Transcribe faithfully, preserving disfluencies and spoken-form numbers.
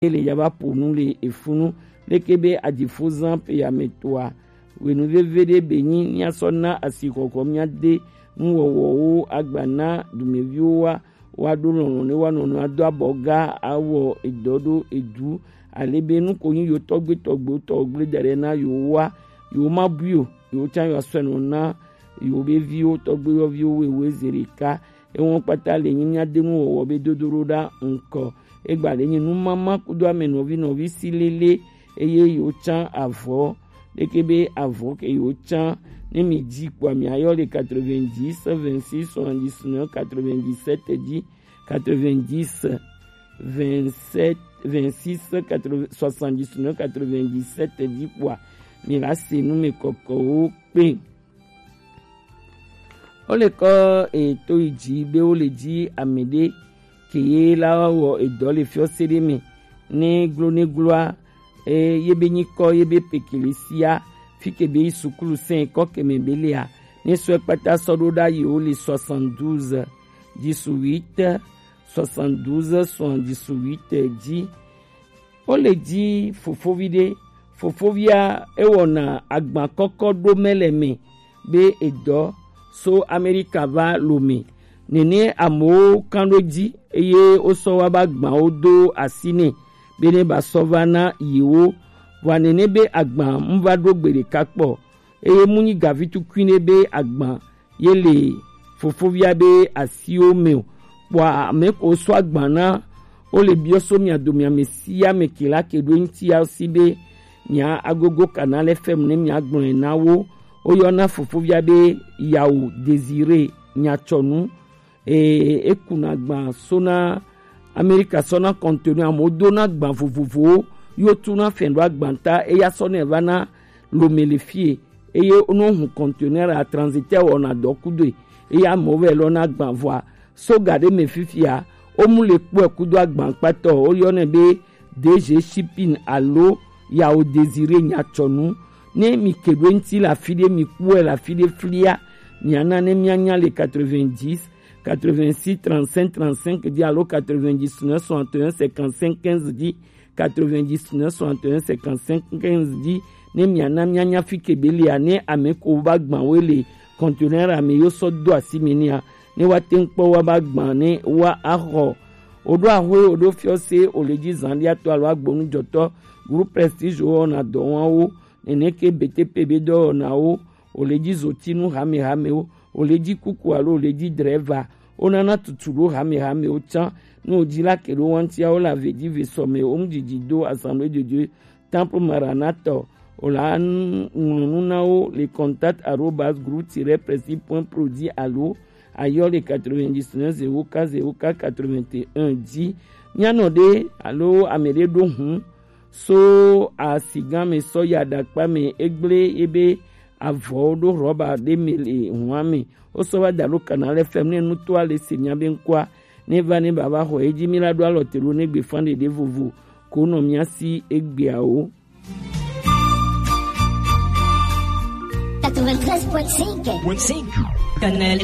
Ele ya va ƒo nu le efunu. Leke be adifozan pe ya me toa? Wenu veve ɖe be nyi míasɔ na asixɔxɔ míade nuwɔwɔwo agba na dumeviwo wa, woaɖo lɔlɔ̃ ne woanɔ nɔ ado abɔ ga awɔ edɔ ɖo edu, ale be nu ko nyi yewo tɔgbe tɔgbewo tɔ gble da ɖe na yewo wa, yewo ma bui o, yewo tsã yewo asɔe nɔ na yewo be viwo tɔgbe yɔviwo wewe zi ɖeka. Ewo kpata le nyi míade nuwɔwɔ be dodo ɖo ɖa ŋkɔ. Egba le nyi numama kudo ame nɔvi nɔvi si lele, eye yewo tsã avɔ ɖeke be avɔ ke yewo tsã. Ne mi dzi kpoa mi ayɔ le quatre-vingt-dix, vingt-six, soixante-dix-neuf, quatre-vingt-dix-sept dzi, quatre-vingt-dix, vingt-sept, vingt-six, quatre-vingts, soixante-dix-neuf, quatre-vingt-dix-sept dzi kpoa mi la se nu me kɔkɔwo kpe. Wo le kɔ eto yi dzi be wo le dzi ame ɖe ke ye la wɔ edɔ le fiɔse ɖe me ne glo ne gloa, e, ye be nyikɔ ye be pekele sia fi ke be yi sukulu sɛn kɔ ke me be lea, ne sɔe kpata sɔ ɖo ɖa yi wo le soixante-douze, dix-huit, soixante-douze, soixante-dix-huit dzi. Wo le dzi fofovi ɖe. Fofovia ewɔna agba kɔkɔ ɖo mɛ le me be edɔ so Amerika va lome. Nene amewo kan ɖo dzi eye wosɔ wa ba agbawo do asi nɛ be ne ba sɔ va na yewo. Vɔa nene be agba mu va ɖo gbe ɖeka kpɔ eye mu nyi gavi tukui nɛ be agba ye le fofovia be asiwo me o. Kpɔa ame ko sɔ agba na wo le biɔ so mia do mia me sia me ke la ke ɖo ŋuti ya si be mia agogo kana le fɛm ne mia gblɔe na wo. Woyɔna fofovia be Yawu Désiré Nyatsɔnu. Ee, ekuna agba so na Amerika sɔ na kɔntenu amewo do na agba vovovowo yo tu na fɛn ɖo agba ta eya sɔ ne va na lome le fie. Eye wonɔ hu conteneur a transitaire wɔna dɔ kudoe. Eye amewo vɛ lɔ na agban vɔa so ga ɖe me fifia. Womu le kpɔe kudo agbankpatɔ woyɔnɛ be D G Shipping alo Yawo Désiré Nyatsɔnu. Ne mi ke ɖo eŋuti le afi ɖe, mi kpɔe le afi ɖe flia, miana ne mianya le quatre-vingt-dix, quatre-vingt-six, trente-cinq, trente-cinq dzi alo quatre-vingt-dix-neuf, soixante et un, cinquante-cinq, quinze dzi. Quatre-vingt-dix-neuf, soixante et un, cinquante-cinq, quinze dzi. Ne miana mianya fi ke be lia, ne ame ko va gban wo le conteneur ame yo sɔ do asi mi nia, ne wa te ŋkpɔ wa ba gban ne wa axɔ. O ɖo axwe, o ɖo fiɔse, o le dzi zandiatɔ alo agbonujɔtɔ, groupe Prestige wɔna dɔ wɔn wo, nene ke B T P be dɔwɔnawo, o le dzi zotinu hamehamewo, o le dzi kuku alo o le dzi drɛva, o nana tutu ɖo hamehamewo tsã. Ne o dzi la ke ɖo wantia, o le ave dzi ve sɔme, o mu dzidzi do Assemblée de Dieu, Temple Maranatha, o la ŋlɔ nu na wo le contact arobase groupe tiret prestige point pro dzi alo ayɔ le quatre-vingt-dix-neuf zéro quatre zéro quatre quatre-vingt-un dzi. Mianɔ ɖe alo ame ɖe ɖo hu so asigã me sɔ yi aɖakpa me egblẽ ebe avɔwo ɖo rɔba ɖe me le hua me. Wosɔ va da ɖo Canal F M ne nutoa le se mía be ŋkɔa ne va ne bava xɔ edzi mi la ɖo alɔ te ɖo ne gbe fan ɖeɖe vovo ko nɔ mía si egbeawo. Quatre-vingt-treize point cinq. Canal